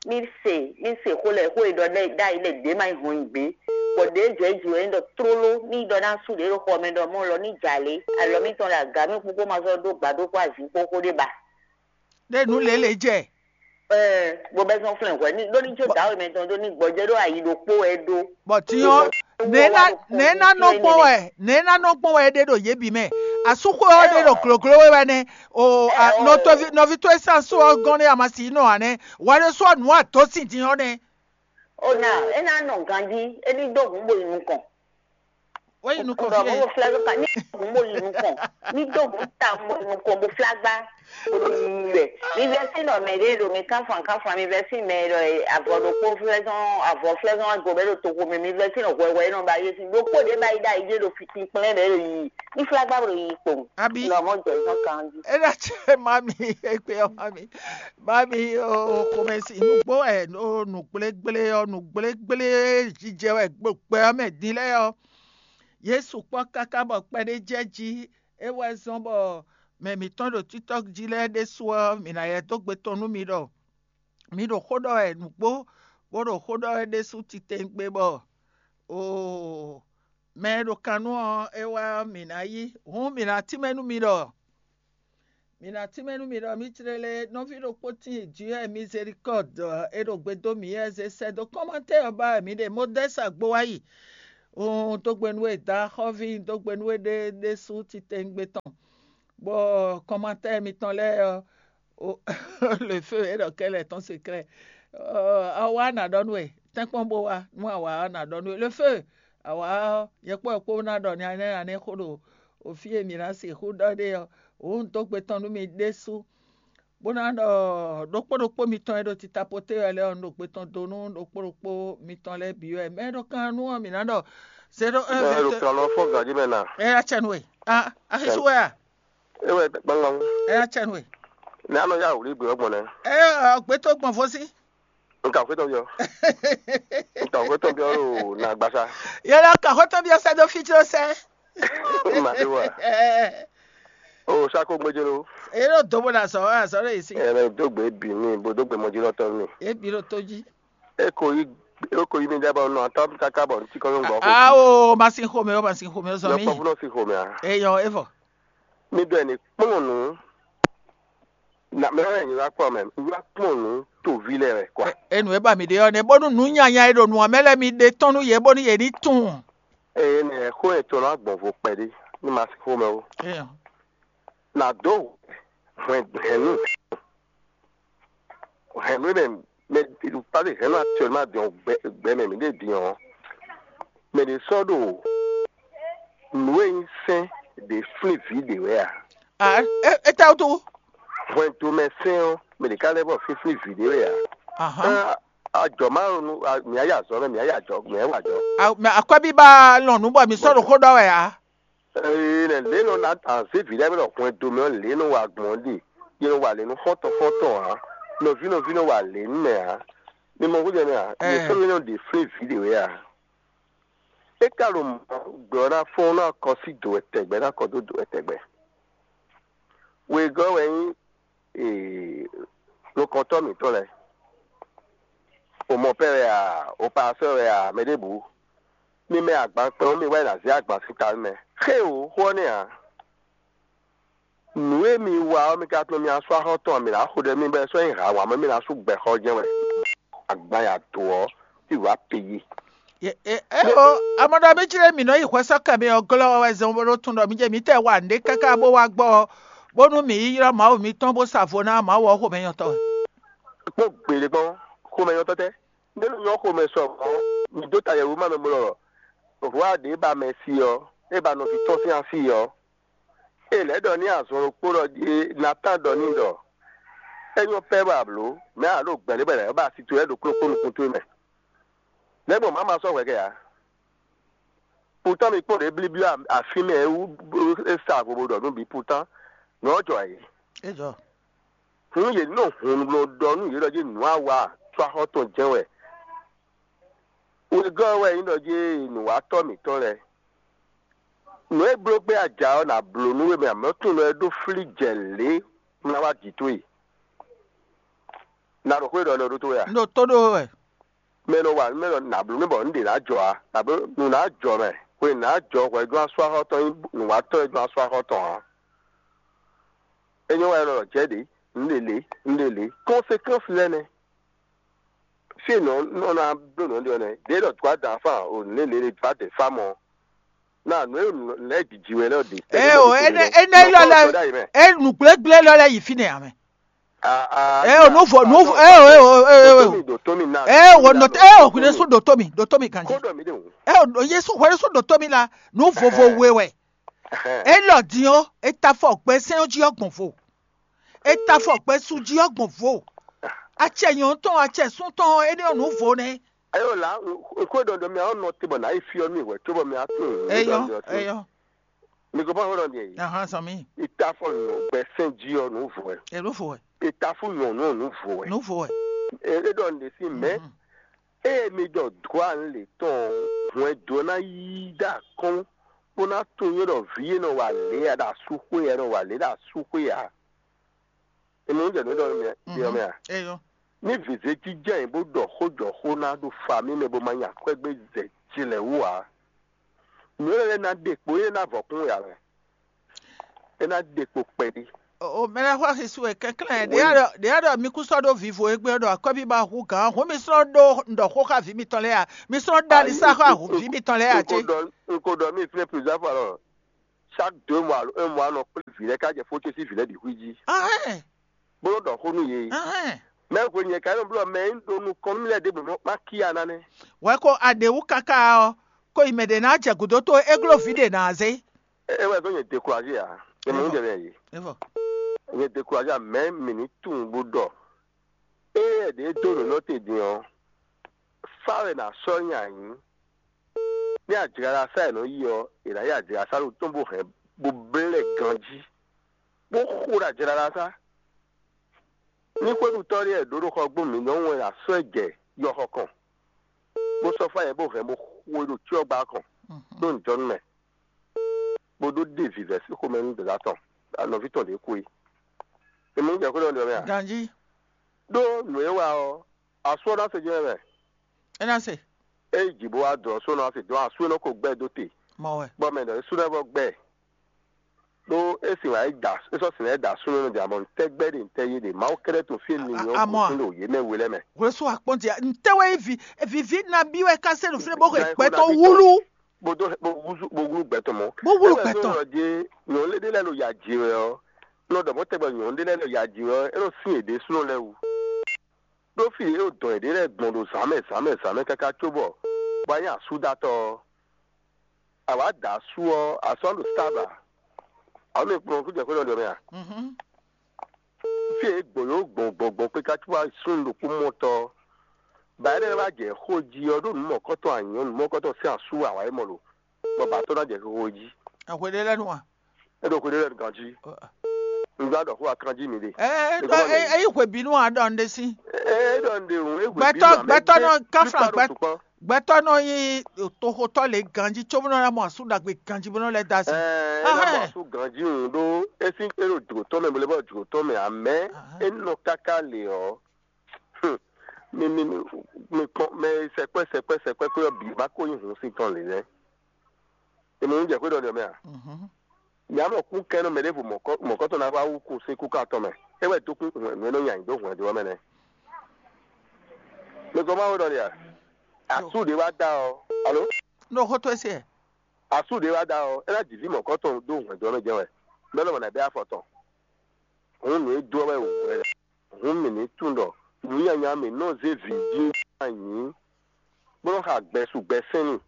Mi se mi se xó lɛ xó e ɖɔ ɖe ɖa yi lɛ ɖe ma yi hɔn yi gbé. Bɔ ɖe jɔ yi jɔ yi ɖɔ trolo ni ɖɔ na su ɖe ɖo xɔ mɛ ɖɔ mɔ lɔ ni dza lé alɔ mi tɔn ɖe aga mi kpókpó ma sɔ ɖó gba ɖó kó azin kpó xó ɖé ba. Ɖe nu lele jɛ. Ɛɛ bó bɛ zɔn flɛ hwɛ ni ɖó ni tso dawe mɛ tɔn ɖó ni gbɔjɛ ɖó ayi ɖokpó wɛ ɖó. Bɔ tiɲɔ nena nena nɔ gbɔn wɛ nena nɔ gbɔn wɛ ɖe ɖo yé bi mɛ. Asúxo ɔ ɖe ɖo gloglo wɛ wɛ nɛ. O a- nɔtɔvi nɔvi to esan so ɔ gɔn ne amasi nɔ anɛ. Wa ɖe so nu ato si din ɔ nɛ. O na e na nɔ ganji e ni do hun bo yi nukɔn. Wɔ yi nukɔn Ɖɔ fie. mo fla ka ni hun bo yi nukɔn ni do hun ta mo yi nukɔn bo fla gba. Bo yi wɛ mi vɛ si nɔ mɛ ɖe ɖo mi kanfan kanfan mi vɛ si mɛ ɖɔ avɔ ɖokpo flɛzɔn avɔ flɛzɔn ago bɛ ɖo toxo mɛ mi vɛ si nɔ hwɛhwɛ nɔ ba yi si ɖokpo ɖe ba yi da yi ɖe ɖo fitin kplɛ ɖe ɖo yi ni fla gba bo yi kpɔn. Abi. Nɔ mo jɛ zɔn kan di. Ena tse mami ekpe ɔ mami mami o xomɛsi nugbo ɛ o nugblégblé ɔ nugblégblé jijɛ wɛ gbogbo ɔ mɛ din lɛ ɔ. Yesu kpɔ kaka bɔ kpɛɖé jɛ ji e wɛ zɔn bɔ mɛ mǐtɔn ɖo títɔ́ jí lɛ́ɛ ɖésú ɔ mǐ ná yɛ dó gbe tɔn nú mi ɖɔ mi ɖo xó ɖɔ wɛ nǔgbó bó ɖo xó ɖɔ wɛ ɖésú titewungbe bɔ oo mɛ e ɖo kan nú ɔ é wá mǐ ná yí hǔn mǐ ná tínmɛ nú mi ɖɔ mǐ ná tínmɛ nú mi ɖɔ mí tlélé nɔví ɖokpó tíin jǐ wɛ mizerikɔ́d e ɖo gbe dó mǐ wɛ zé sɛ́ dó kɔ́mantɛ́ ɔ́ ba wɛ mǐ ɖe modɛ́s agbo wá yi Un dó gbe nú we dǎ xɔ́ví, un dó gbe nú we ɖé ɖésú titewungbe tɔn, bɔ kɔnmatɛ́ mitɔn lɛ́ɛ ɔ́, le feu é ɖɔ kɛ́ lɛ́ɛ tɔn se klɛ́. Awǎ ná ɖɔ nú we, tɛ́nkpɔ́n bó wá nú awǎ ɔ́ ná ɖɔ nú we, le feu awǎ ɔ́, nyɛ kpó wɛ kpó ná ɖɔ nya énɛ́ ná nɛ́ xó ɖo fí e mǐ ná sixú ɖɔ ɖe ɔ́, wǒ un dó gbe tɔn nú mi ɖésú, bó ná ɖɔ ɖokpó ɖokpó mitɔn e ɖo titapoté wɛ lɛ́ɛ ɔ́, un ɖo gbe tɔn dó nú ɖokpó ɖokpó mitɔn lɛ́ɛ bǐ wɛ. Mɛ e ɖo kan nú ɔ́, mǐ ná ɖɔ zéro un Ɛ ɖo vingt. Kan lɔ fɔ ganjí mɛ na. Ɛ yá cɛ nú we. Ah, axisú wɛ a? É wɛ gbangban. Ɛ yá cɛ nú we. Ní a nɔ yá wǔ lí gbé ɔ́ gbɔn nɛ. Ɛ ɔ, gbé tó gbɔn fó sí. N ka xwé tɔn byɔ́. N ka xwé tɔn byɔ́ ɖo nà gbasa. Yɛ lɔ ka xwé tɔn byɔ́ sɛ dó fí tí ó sɛ. Ma ɖe wa. O sako gbɛjɛ lo. Eye ɖo do bó ɖo azɔ azɔ ɖo yìí sí. Ɛ bɛ dó gbé bì mí bó dó gbé mɔjilɔtɔ mí. Ebi ɖo tó jí. E ko yi e ko yi mi ɖe bɔ nɔ atɔ káká bɔ ntí kɔ ló ń gbɔ xo. Awo, ma sin xomɛ o, ma sin xomɛ o, zɔn mi. Lɔkpɔ fúnɔ si xomɛ a. Eyɔ evɔ. Mi ɖɔ ɛ ní kplɔn nù. Na mɛ wɛ nyi wá kpɔ mɛ, nyi wá kplɔn nù toví lɛ wɛ kwa. Enu e ba mi ɖe ɔ́ nɛ, bónú nǔ nyanya e ɖo nǔ ɔ́ mɛ lɛ́ɛ mi ɖe tɔ́n nú yě bónú yě ní tunwun. Eye nɛ xó etɔn ná gbɔn vo kpɛɖé ní ma sin xomɛ o. Eyɔ. Nà dó hwɛn hɛn nú hɛn nú mɛ mɛ pase hɛn nú actuellement din ɔ gbɛ gbɛ mɛ mi ɖe din ɔ mɛ ɖě sɔ́ ɖo nǔ e nyí sɛ́n ɖě flín vǐ ɖě wɛ a? Ah, é é tá wútu. Hwɛndo mɛ sɛ́n ɔ́, mɛ ɖě ká lɛ́ bɔ fínfín vǐ ɖě wɛ a? Ahán. Ɛ, ajɔ ma ɖo nú a- mǐ á yi azɔ mɛ, mǐ á yi ajɔ mǐ á yi wa ajɔ. Ah, mɛ akwɛ́bíbá lɔn nǔ bɔ mi sɔ́ ɖo xó ɖɔ wɛ a? Ee, nɛ lě nɔ na azé vǐ lɛ́ɛ nɔ hwɛndo mɛ ɔ́ lě nɔ wa gbɔn ɔ́ ɖe, yě nɔ wa lě nú xɔ́ntɔn xɔ́ntɔn ǎ, nɔví nɔví nɔ wa lě nú mɛ ǎ. Mi mɔ xújɛ mɛ a? Yě Ɛɛ. Sɔ́ mɛ nɔ ɖe flín vǐ ɖě wɛ a? É ka ɖo mɔ̌ gbɛ ɔ́ ná fɔ́n ná kɔ sí dǒ wɛ tɛgbɛ ná kɔ dó dǒ wɛ tɛgbɛ. Wegɔ́ wɛ nyí ee, nukɔntɔ́ mǐtɔn lɛ́ɛ. O mɔ pɛ́ wɛ a, o pasɔ́ wɛ a, mɛ ɖěbǔ. Mi mɛ agban kpɛn ɔ́, mi wá yi ná zé agban sín ta nú mɛ. Xé o, xó ɔ́ nɛ́ ǎ. Nǔ e mi wa ɔ́, mi ka tunwun mi asú axɔ́ tɔn, mi ná xo ɖɛ mi bɔ é sɔ́ nyí hǎ wǎn mɛ mi ná sú gbɛxɔ jɛ́n wɛ. Agban ya dǒ ɔ́, tí wǎ pe yí. Ɛ ɛ o, amɔɖɔ mi jlé mǐ nɔ yi hwɛsɔ́kɛ mi ɔ́ glɔ́ wɛ zɔn bó ɖó tun ɖɔ mi jɛ mǐtɛɛ wa nǔɖé káká bó wá gbɔ ɔ́, bónú mǐ yi ylɔ́ Mawu mitɔn bó sa vo ná Mawu ɔ́ xomɛnyɔ́tɔn wɛ. Kpɔ́n gbeɖé kpɔ́n, xomɛnyɔ́tɔn tɛ́? Nɛ́ nɔ nyɔ́ xomɛ sɔ mɔ̌, mi dó ta yɛ̌wú ma mɛ bo ɖɔ hwá ɖě ba mɛ si ɔ́, é ba nɔví tɔn sín asi ɔ́. É lɛ̌ ɖɔ ní azɔn ɖokpó ɖɔ jí Natan ɖɔ n'i ɖɔ: É nyɔ́ pɛ́ bɔ a blǒ, mɛ̌ a ɖo gbɛ̌ ɖé bɔ è nǎ ba asi towe lɛ́ɛ ɖokpó ɖokpó nukún towe mɛ. Nɛ̌ gbɔn má ma sɔ́ hwɛ kɛ ǎ? Pután mi kpɔ́n ɖě blíblí afín mɛ é wú é sa vo bo ɖɔ nú bǐ pután nǔ ɔ́ jɔ ayǐ. É jɔ. Hǔn yě nɔ hun ɖɔ ɖɔ nú yě ɖɔ jí nǔ a wa có axɔ́ tɔn jɛ́n wɛ. Wegɔ́ ɔ́ wɛ nyí ɖɔ jí nǔwatɔ́ mǐtɔn lɛ́ɛ. Nǔ e bló gbé aja ɔ́, nǎ bló nú we mɛ amɔ̌ tunwun ɖɔ é ɖó flí jɛ lě ná wá jǐ towe. Nǎ ɖo xwé ɖɔ nɔ ɖó towe a? Un ɖo tó ɖó we wɛ. Mɛ e nɔ wa nǔ mɛ nɔ nǎ bló mì bɔ nǔ ɖě ná jɔ ǎ, nǎ bló nǔ ná jɔ mɛ, hwenu ná jɔ hwɛ jɔ́n asú axɔ́ tɔn nyí nǔwatɔ́ e jɔ́n asú axɔ́ tɔn ǎ. É nyɔ́ wɛ nɔ jɛ ɖě, nǔ ɖě lě, nǔ ɖě lě. Conséquence lɛ́ɛ nɛ́. Fí e nɔ nɔ ná bló nǔ ɖe ɔ́ nɛ́, ɖě ɖɔ dwǎ da fán o nǔ lě lě dwǎ dɛ fá mɔ. Ná nǔ e nǔ lɛ́ jǐjǐ wɛ lɛ́ ɖe. Ɛ o, énɛ́ énɛ́ lɔ lɛ é nǔgblégblé lɔ lɛ yi fínɛ́ ame. Ɛ o, nǔ vo nǔ vo ɛ o ɛ o ɛ o ɛ o. Dòtómi dòtómi ná. Ɛ o nɔ ɛ o hwile sún dòtómi dòtómi ganji. Kódò mi ɖe wò. Ɛ o, Yesu hwile sún dòtómi la nǔ vovo we wɛ. Elɔ din ɔ́, e ta fɔ gbɛ sɛn ɔ́ jí ɔ́ gbɔn vo. E ta fɔ gbɛ su jí ɔ́ gbɔn vo. Acɛ nyɔ̌nu tɔn, acɛ sún tɔn ɔ́, énɛ́ ɔ́ nǔ vo nɛ́. Ayo la, xwé ɖɔɖɔ mi àwọn nɔ te bɔ nǎ yi fí ɔ́ mi wɛ cóbɔ mi atún. Eyɔ eyɔ. Mi ko bɔ xwé ɖɔ diɛ yi. Ahan sɔmi. Ita fɔ nɔ gbɛ sɛn jí ɔ nǔ vo wɛ. Elo vo wɛ. Ita fún nyɔ̌nu ɔ nǔ vo wɛ. Nǔ vo wɛ. E ɖɔ nɖe sí mɛ. Eye mi ɖɔ dwa le tɔn hwɛn do ná yí ɖa kɔn bó ná tunwun ɖɔ vǐ e nɔ wa lě ya ɖo asúxwé ya nɔ wa lě ɖo asúxwé ya. Emi ń jẹ nǔ ɖɔ mɛ yɔ mɛ a? Eyɔ. Ní vǐzé jijɛ yìí bó ɖɔ xó jɔ xó ná ɖo fa mì mɛ bó ma nya akwɛ́gbé zɛ jilɛ wú ǎ. Nǔ élɔ́ lɛ́ɛ ná ɖe kpo é ná vɔ̌ kún ya mɛ. É ná ɖe kpo kpɛɖé. O mɛ lɛ́ɛ xɔ axi su wɛ kɛnklɛ́n. Ɖě a ɖɔ ɖě a ɖɔ mi kú sɔ́ ɖó vivo égbé ɖɔ akwɛ́ bí ba hu gǎn hǔn mi slɔ́ ɖó ɖɔ xó xá vǐ mitɔn lɛ́ɛ a? Mi slɔ́ ɖó ali sá xá vǐ mitɔn lɛ́ɛ a cé? Un ko ɖɔ mì fínɛ́ plusieurs fois alors, chaque deux mois alo un mois nɔ kplé vǐ lɛ́ɛ ká jɛ fó ce sín vǐ lɛ́ɛ bǐ xwí jí, bó nɔ́ ɖɔ xó nú yě. Mɛ hwe nyɛ ka nɔ blɔ mɛ e un ɖo nukɔn nú mì lɛ́ɛ ɖěbǔ nɔ má kíyá ná nɛ́. Wɛ ko a ɖě wú káká ɔ́, ko yi mɛ ɖě ná jɛ gǔdo towe é gló vǐ ɖě ná zé. É wɛ zɔ́n nyɛ découragé ǎ. É mɛ nú jɛ mɛ yě. Evɔ. Nyɛ découragé ǎ, mɛ mǐ ní tunwun bó ɖɔ. Ée ɖě dó nǔ nɔ te din ɔ́, fá wɛ nǎ sɔ́ nyi ayǐ. Ní ajlala sá è nɔ yi ɔ́, è nǎ yi ajlala sá ɖo tɔn bó hɛn bó blɛ́ ganjí, bó xo ɖo ajlala sá. Ní xwéɖutɔ́ ɖé wɛ ɖǒ ɖo xɔgbónu mǐtɔn wɛn ɖo asɔ́ e jɛ yɔxɔ kɔn, bó sɔ́ fá nyɛ bó hɛn bó xo e ɖo cyɔ́gba kɔn ɖó nǔjɔnú mɛ, bó ɖó ɖe vǐvɛ́ sín xomɛ nú dǒdá tɔn, nɔví tɔn ɖě kú é. È mɔ jɛ xwé ɖɔ nǔ ɔ́ mɛ a? Ganjí. Ɖó nǔ e wa ɔ́, asú ɔ́ ná se jɛ́n mɛ. É ná se. É yi jǐ bó wá dɔ̌ só ná se dɔ̌ asú e nɔ ko gbɛ dó te. Mɔ wɛ. Bɔ mɛ ɖɔ é sú ná vɔ gbɛ. Ɖó é sin wǎ é da é sɔ́ sin wǎ é da súnnu nɔ jà mɔ ntɛ́gbɛ́ ɖe ntɛ́ yé ɖe Mawu kɛ́ɖɛ́ to fí e mi nyɔ́ Amɔ a? Gosín ɖo yě mɛ we lɛ́ɛ mɛ. Hwlɛ́sú akpɔ́nti a ntɛ́ wɛ nyí vǐ vǐví nabí wɛ ká sɛ́ ɖo fínɛ́ bó hɛn gbɛtɔ́ wúlú. Bó dó bó wúzú bó wúlú gbɛtɔ́ mɔ. Bó wúlú gbɛtɔ́. Ɔ́ dé nyɔ̌nu lé ɖé lɛ́ɛ ɖo ya jǐ wɛ ɔ́, nɔ ɖɔ mɔ̌ tɛgbɛ nyɔ̌nu ɖé lɛ́ɛ ɖo ya jǐ wɛ ɔ́, é nɔ sín yěɖée súnnu lɛ́ɛ wú. Ɖó fí e é dɔn yěɖée lɛ́ɛ gbɔn ɖo zǎnmɛ zǎnmɛ zǎnmɛ káká cóbɔ bɔ wá nyí asúdatɔ́ ɔ́, a wǎ da asú ɔ́, asú ɔ́ ɖo Staba. Awǒ mi kplɔ́n kú jɛ xwé nɔ ɖɔ mɛ a? Fí e é gbɔn yǒ gbɔn gbɔn gbɔn kpé ká cóbɔ súnnu ɖokpó mɔtɔ́ ɔ́, ba énɛ́ lɛ́ɛ wá jɛ xó jí ɔ́ ɖó nǔ mɔ̌kɔtɔn anyɔ̌ nǔ mɔ̌kɔtɔn sín asú wɛ a wǎ yi mɔ lo, bɔ ba tɔ́ ná jɛ xixo jí. Ahwe ɖé lɛ́ɛ nu a? É ɖo xwe ɖé lɛ́ɛ nu ganjí. Un gba ɖɔ xó akanjí mi ɖe. Ɛ ɛ ɛ yi hwebǐnu a ɖɔ un ɖe sí. É ɖɔ un ɖe òun é hwebǐnu. Gbɛtɔ́ gbɛtɔ́ nɔ káfla gbɛtɔ́ gbɛtɔ́ nɔ nyi toxotɔ́ lě ganjí có bó nɔ ná mɔ asú ɖagbe ganjí bó nɔ lɛ́ dó asi. Ɛ ɛ ná mɔ asú ganjí òun ɖó é sín é ɖo jǒtɔ́ mɛ bó lɛ́ bɔ jǒtɔ́ mɛ amɛ é nɔ káká lě ɔ́. Mi mi mi mi kpɔn mɛ e sɛkpɛ sɛkpɛ sɛkpɛ kpé ɔ́ bǐ ma ko nyí hun sín tɔn lě nɛ́. È mɔ nǔ jɛ xwé ɖɔ ɖɔ mɛ a? Mǐ á mɔ kú kɛ́n nɔ mɛ ɖěvo mɔ̌kɔtɔn ná wá wú kú sín kúká tɔn mɛ. É wɛ dó kú nǔ e nɔ nya nyi dó hwɛ̌n dó ɔ́ mɛ nɛ́. Mi gbɔ Mawu ɖɔ ɖe a? Asú ɖě wá dá ɔ́, alo? Ɖo xó towe se. Asú ɖě wá dá ɔ́, é ná ji vǐ mɔ̌kɔtɔn dó hwɛ̌n dó ɔ́ mɛ jɛ́n wɛ. Mɛ̌ lɔmɔ̌ ná bɛ́ afɔ tɔn? Hǔn nǔ e dó ɔ́ wɛ wǔ wɛ. Hǔn mǐ ní tunwun ɖɔ nǔnyanya mǐ nɔ zé vǐ jí anyǐ, bó nɔ́ xa gbɛsu gbɛsɛ́nnu.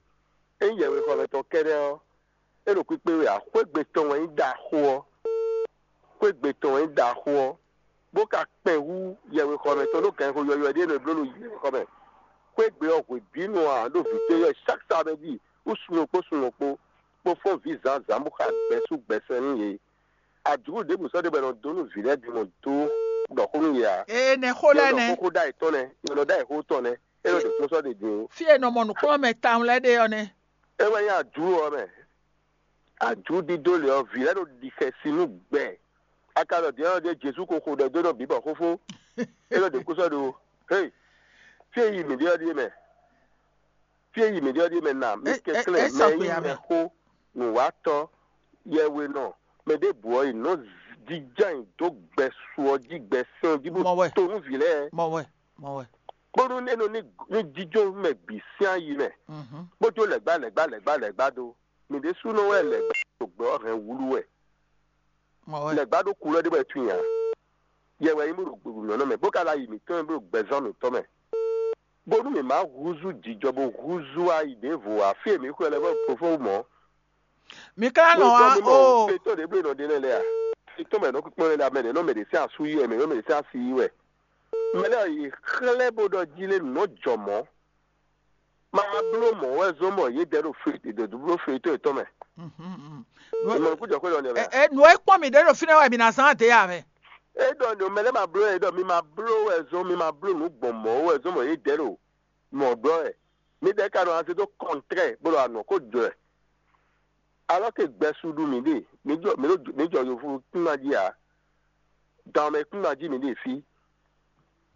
Ényí yɛhwexɔmɛ tɔn kɛ́ɖɛ́ ɔ́, é ɖo kpíkpé wɛ ǎ, xwé gbe tɔn wɛ nyí ɖaxó ɔ́. Xwé gbe tɔn wɛ nyí ɖaxó ɔ́, bó ka kpɛn hú yɛhwexɔmɛ tɔn ɖó gǎnxó yɔywɛ ɖé nɔ è bló ɖo yɛhwexɔmɛ. Xwé gbe ɔ́ hwebǐnu ǎ ɖo vǐ towe yɔ chaque samedi wú sun ɔ́ kpó sun ɔ́ kpó, bó fɔ́n vǐ zǎnzǎn bó xa gbɛsu gbɛsɛn nú yě. Adǔ ɖěbǔ sɔ́ ɖé bɔ è nɔ dó nú vǐ lɛ́ɛ bǐ mɔ dó ɖɔ xó nú yě ǎ. Ee nɛ xó lɛ́ɛ nɛ. Xóxó ɖ'ayǐ tɔn nɛ, è nɔ ɖ'ayǐ xó tɔn nɛ, é nɔ ɖo kpɔ́n sɔ́ ɖě din ó. Fí e è nɔ mɔ nǔkplɔ́nmɛ tawun lɛ́ɛ ɖe ɔ́ nɛ́. É wɛ nyí adǔ ɔ́ mɛ. Adǔ dídó lě ɔ́, vǐ lɛ́ɛ ɖo ɖi xɛsi nú gbɛ. A ka ɖɔ din ɔ́ ɖíe Jezu ko xo ɖɛ dó nɔ bǐ bɔ xófó. É nɔ ɖě kú sɔ́ ɖo. Hé, fí e yi mǐ ɖe ɔ́ ɖíe mɛ. Fí e yi mǐ ɖe ɔ́ ɖíe mɛ na mǐ kɛnklɛ́n mɛ e nyí mɛxó, nǔwatɔ́, yɛhwenɔ, mɛ ɖěbǔ ɔ́, è nɔ jínjɔ́n ayǐ dó gbɛ su ɔ́ jí, gbɛ sɛn ɔ́ jí bó to nú vǐ lɛ́ɛ. Mɔ wɛ, mɔ wɛ. Bónú é nɔ ní jínjɔ́n mɛ bǐ sín ayi mɛ, bó jó lɛ̌gbá lɛ̌gbá lɛ̌gbá lɛ̌gbá dó. Mǐ ɖésúnɔ wɛ lɛ̌gbá ɖo gbɛ ɔ́ hɛn wúlú wɛ. Lɛ̌gbá ɖó kulɔ́ ɖé bɔ é tunwun ǎ. Yɛ wɛ nyí bó ɖo gběgbémlɔ́nɔ mɛ, bó ka ɖo ayi mǐtɔn mɛ bó ɖo gbɛzán mǐtɔn mɛ. Bónú mǐ má húzú jǐjɔ bó húzú ayi ɖěvo ǎ, fí e mǐ xwlɛ́ lɛ́ vɔ fofó mɔ̌. Mi ka nɔ wá o. Fetɔ́ ɖě bló nɔ ɖe lɛ́ɛ lɛ́ɛ a? Fetɔ́ mɛ nɔ kpíkpɔ́n lɛ́ɛ mɛ ɖě nɔ mɛ ɖě sín asú yí wɛ, mɛ ɖě nɔ mɛ ɖě sín asi yí wɛ. Mɛ lɛ́ɛ yi xlɛ́ bó ɖɔ jí lé nǔ nɔ jɔ mɔ̌. Ma bló mɔ̌ wɛ zɔ́n bɔ yě dɛ ɖo fetɔ́ yětɔn mɛ. Ìmọ̀ kú jɔ xwé lɔ nɛ mɛ. Ɛ nǔ e kpɔ́n mǐ ɖé ɖo fínɛ́ wɛ mǐ ná zán adě ya mɛ. É ɖɔ nǔ mɛ lɛ́ɛ ma bló ɛ ɖɔ mi ma bló wɛ zɔ́n mi ma bló nǔ gbɔn mɔ̌ wɛ zɔ́n bɔ yě dɛ ɖo mɔ̌ ɖɔ wɛ. Mi ɖɛ ka nɔ azé dó kɔntrɛ bó ɖo anɔ kó jɔ ɛ. Alɔ ke gbɛsu ɖu mǐ ɖe, mǐ jɔ mǐ ɖo mǐ jɔ yovo kúnna jí ǎ. Dan mɛ kúnna jí mǐ ɖe fí.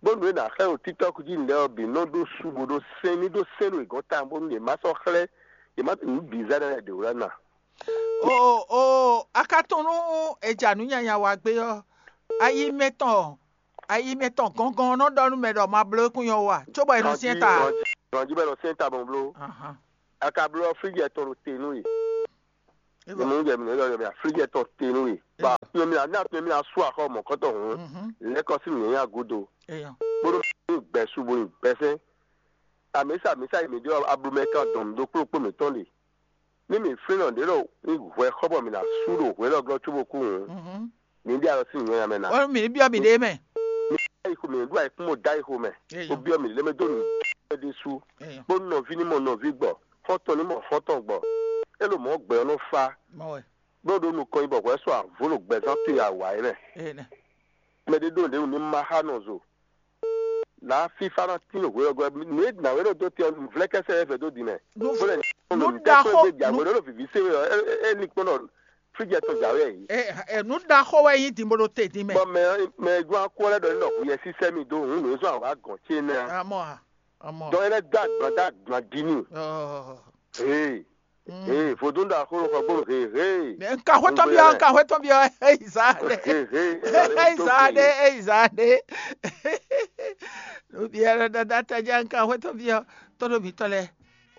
Bónú é ná xlɛ́ ɖo TikTɔk jí nǔɖé ɔ́ bǐ nɔ ɖó su bó ɖó sɛn ní ɖó sɛn ɖo yě gɔ́n tawun bónú yě má sɔ́ xlɛ́ yě má nǔ bǐ zɛ ɖɛ lɛ́ɛ ɖě wú ná. O o a ka tunwun nú è ja nǔ nyanya wa gbé ɔ́, ayi mɛtɔn ayi mɛtɔn gɔngɔn nɔ ɖɔ nú mɛ ɖɔ ma bló kún nyɔ wa, cóbɔ è nɔ syɛ́n ta. Ganji bɛ nɔ syɛ́n ta bɔn bló. Ahan. A ka bló ɔ́, fíjɛ tɔn ɖo te nú we. Ebo. Mɛ jɛ mi lɔ yɔ mi aflijɛ tɔn te nú we. Ba tunye mi na na tunye mi na su axɔ mɔ kɔtɔ hun. Mhm. Lɛkɔ si mi nya godo. Eyan. Bolo mi gbɛ su bo nyi gbɛsɛ. Amisa amisa yi mi ɖe ablumɛ kan dɔn mi ɖo kplokplo mi tɔn de. Ni mi flin nɔ ɖe ɖo ni hwɛ xɔ bɔ mi na su ɖo hwɛ lɔ glɔ tso bo ku hun. Mhm. Mi ɖe alɔ si nyɔ ya mɛ na. Wọ́n mi ní bí ɔmì ɖé mɛ. Mi ɖo ayixo mɛ, mi ɖo ayixo mɛ, da ayixo mɛ. Eyo. Obi ɔmì lé mɛ dó nu ɖe su. Eyo. Bó nɔví ní mɔ nɔví gbɔ, xɔ́ntɔn ní mɔ xɔ́ntɔn gbɔ. É ló mɔ gbɛ ɔ́ nɔ fa. Mɔ wɛ. Bó ɖo nukɔn nyi bɔ hwɛ sɔ avó ɖo gbɛzán to ya wǎ é mɛ. Eyo. Mɛ ɖé ɖo ɖě wú ní ma xá nɔ zo. Là á fífá ná tín ɖo hwelɔ́gɔ́, nǔ e nǎwe ɖo dó te ɔ́, nǔvlɛ́kɛ́sɛ wɛ vɛ̌ dó din mɛ. Nǔ- Bó lɛ nǔ nǔ ɖaxó- ɖaxó gbé jǎwe ɖó vǐví sé we ɔ́, é- é- é linkpɔ́n ɖɔ fíjɛ tɔn jǎwe yě. Ɛ, ɛ, nǔ ɖaxó wɛ nyí din bó ɖo te din mɛ. Bɔ mɛ mɛ e gbɔn akó lɛ́ɛ ɖɔ ní ɖɔ hu yɛ sísɛ́ mi dó hǔn nǔ e zɔn awǎ gɔn ce nɛ́ ǎ. Amɔ a, amɔ. Dɔn é lɛ́ dó agban dó agban dín n'i. Ɔɔ. Hee. Mm. Hee, vodún ɖo axó xɔ gbó hee hee. Nka hwetɔn byɔ, nka hwetɔn byɔ, eyi zá ɖe. Hee hee. Eyi zá ɖe, eyi zá ɖe. Nubia ɖɔ dada taja nka hwetɔn byɔ, tɔɖo mitɔ lɛ.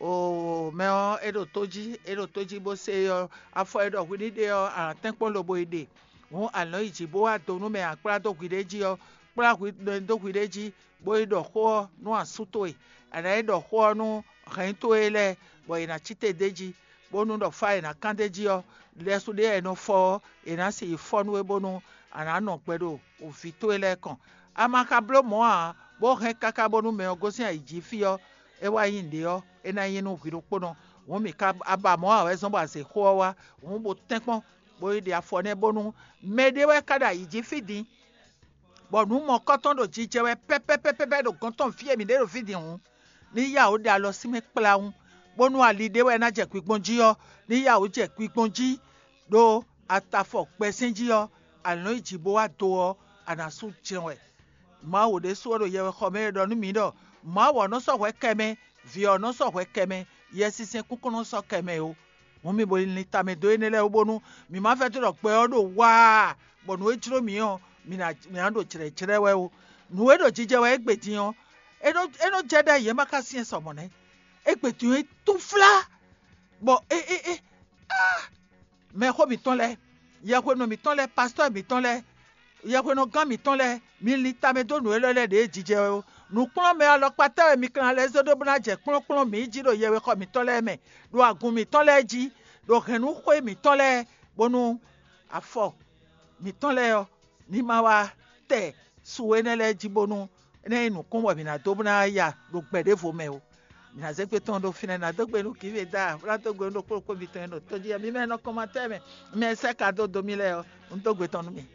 O mɛ ɔ́, é ɖo tó jí, é ɖo tó jí bó se ɔ́, afɔ e ɖɔ hwi ní ɖe ɔ́, a nǎ tɛ́nkpɔ́n lobo yi ɖe. Hǔn a nǎ yi jǐ bó wá do nú mɛ e a kplá dó hwi ɖé jí ɔ́, kplá hwi dó hwi ɖé jí, bó yi ɖɔ xó ɔ́ nú asú towe. A nǎ yi ɖɔ xó ɔ́ nú hɛ̌nnyí towe lɛ́ɛ, bɔ yě ná cí te d'é jí, bónú ɖɔ fá e è nǎ kán d'é jí ɔ́, lɛ́sú ɖé e è nɔ fɔ ɔ́, è nǎ si yi fɔ nú we bónú a nǎ nɔ gbɛ ɖo vǐ towe lɛ́ɛ kɔn. A ma ka bló mɔ̌ ǎ, bó hɛn káká bónú mɛ ɔ́ gosín ayǐ jí fí ɔ́, é wá nyí nǔɖé ɔ́, é ná nyí nú hwi ɖokpónɔ. Hǔn mǐ ka a ba mɔ̌ ǎ wɛ zɔ́n bɔ azě xó ɔ́ wá, hǔn bo tɛ́nkpɔ́n, bó yi ɖe afɔ nɛ́ bónú mɛ ɖé wɛ ka ɖo ayǐ jí fí din, bɔ nǔ mɔ̌kɔ́tɔn ɖo jijɛ wɛ pɛ́pɛ́pɛ́pɛ́ ɖo gɔ̌n tɔn fí e mǐ ɖe ɖo fí din hǔn, ní yá wǔ ɖe alɔ sín mɛ kplawún, bónú ali ɖé wɛ ná jɛ kwi gbɔn jí ɔ́, ní yá wǔ jɛ kwi gbɔn jí, ɖó a ta afɔ gbɛsɛ́n jí ɔ́, a nǎ yi jǐ bó wá do ɔ́, a nǎ sú jɛ́n wɛ. Mawu ɖésú ɔ́ ɖo yɛwexɔ mɛ e ɖɔ nú mǐ ɖɔ Mawu ɔ́ nɔ sɔ́ hwɛ kɛ mɛ, Vǐ ɔ́ nɔ sɔ́ hwɛ kɛ mɛ, Yɛsinsɛn kúnkún nɔ sɔ́ kɛ mɛ ó. Hǔn mi bo lin tamɛ dó énɛ́ lɛ́ɛ wú bónú mǐ ma vɛdó ɖɔ gbɛ ɔ́ ɖo waa, bɔ nǔ e jló mǐ ɔ́, mǐ ná mǐ ná ɖo jlɛ̌jlɛ́ wɛ ó. Nǔ e ɖo jijɛ wɛ égbé din ɔ́, é nɔ é nɔ jɛ ɖ'ayǐ é ma ka syɛ́n sɔ mɔ̌ nɛ́. Égbé din ɔ́, é túnflá, bɔ é é é ah! Mɛxó mǐtɔn lɛ́ɛ, yɛhwenu mǐtɔn lɛ́ɛ, pastɔ́ mǐtɔn lɛ́ɛ, yɛhwenɔgán mǐtɔn lɛ́ɛ, mi lin tamɛ dó nǔ élɔ́ lɛ́ɛ ɖě jijɛ wɛ ó. Nǔkplɔ́nmɛ alɔkpatá wɛ mi ka ná lɛ́ zé ɖó bó ná jɛ kplɔ́nkplɔ́n mǐ jí ɖo yɛwexɔ mǐtɔn lɛ́ɛ mɛ, ɖo agun mǐtɔn lɛ́ɛ jí, ɖo hɛ̌nnúxwé mǐtɔn lɛ́ɛ, bónú afɔ mǐtɔn lɛ́ɛ ɔ́ ní ma wá tɛ su énɛ́ lɛ́ɛ jí bónú é ná nyí nǔkún bɔ mǐ ná dó bó ná ya ɖo gbɛ ɖěvo mɛ ó. Mǐ ná zé gbe tɔn ɖó fínɛ́, ná dó gbe nú Giveda, bó ná dó gbe nú ɖokpó ɖokpó mitɔn e ɖo tójí ɔ́. Mi mɛ e nɔ kɔnmatɛ́ mɛ, mi mɛ e sɛ́ ka dó dó mì lɛ́ɛ ɔ́, un dó gbe tɔn nú mi.